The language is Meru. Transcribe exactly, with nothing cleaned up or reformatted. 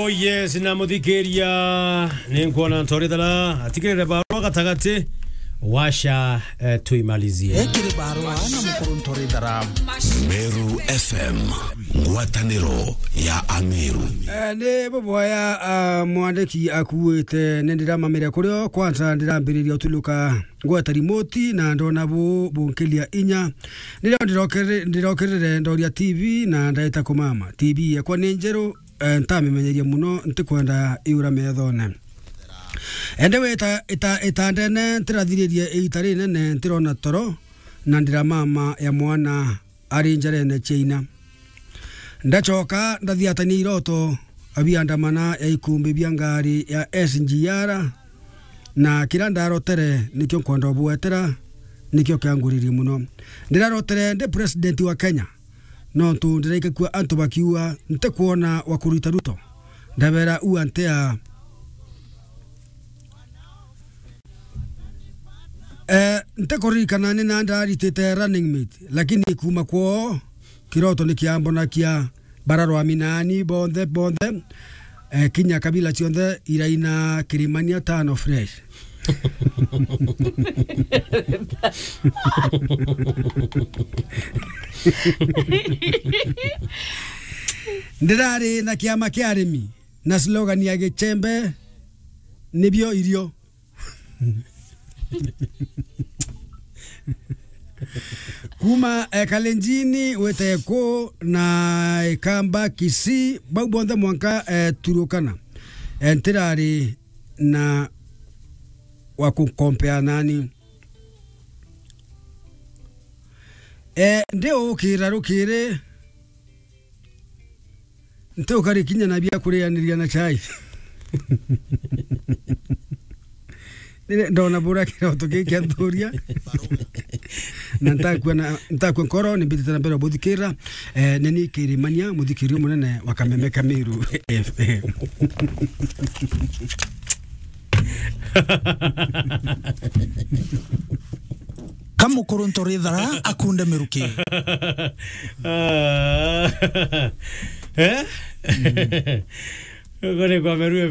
Yes, na muthikiria, ni nkwona Ntorithara atigirire barua gatagati, washa, eh, tuimalizie. Ekiri barua na mukuru Ntorithara. Meru F M, ngwataniro ya Ameru. Eh, ni buboya, ah, mwandiki akuite, ni ndiramamire kurio, kwanza ndirambiriria utuluka ngweta rimoti na ndona bu bunkilia inya. Nirio ndirokere-, ndirokirire ndoria T V na ndaita kumama. T V yakwa ni njeru, eh, ntamimenyeria muno, ntikwenda iura methone. Ende wita ita-, itandene, ntirathiririe iita rinene, ntirona toro, na ndiramama ya mwana ari njarene cia ina. Ndacoka ndathiatania iroto biandamana ya ikumbi bia ngari ya S G R, na kira ndarotere nikio nkwenda ubwetera, nikio kianguririe muno. Ndirarotere ndi president wa Kenya, nontu ndiraikakua antu bakiuga ntikwona wa kurita Ruto. Ndabera ua ntea. Eh, ntikuririkana ni na ndaritite running mate, lakini kuuma kwoo, kiroto ni kiambonakia bararwami nani bonthe, bonthe, eh, kinya kabila cionthe iraina kirimania tano fresh. Ndirari na kiama kia arimi na slogan ya Gichembe nibio irio. Kuma, eh, Kalenjini, wete ku na Ikamba, Kisii, bau bonthe mwanka, eh, Turukana. Eh, ntirari na wa kukompea nani. Eh, ndi ukira rukiri, nti ukari kinya na bia kurianiria na chai. Nire ndona bura kiroto giki kia nthuria. Na ntakua na, ntakua nkoro, ni mbitite na mbere buthikira. Eh, ni ni Kirimania, muthikiria munene wa Kameme Kamiru F M. Kamukuru Ntorithara akunde miruki. Ah. Eh? Uko ni kwa Meru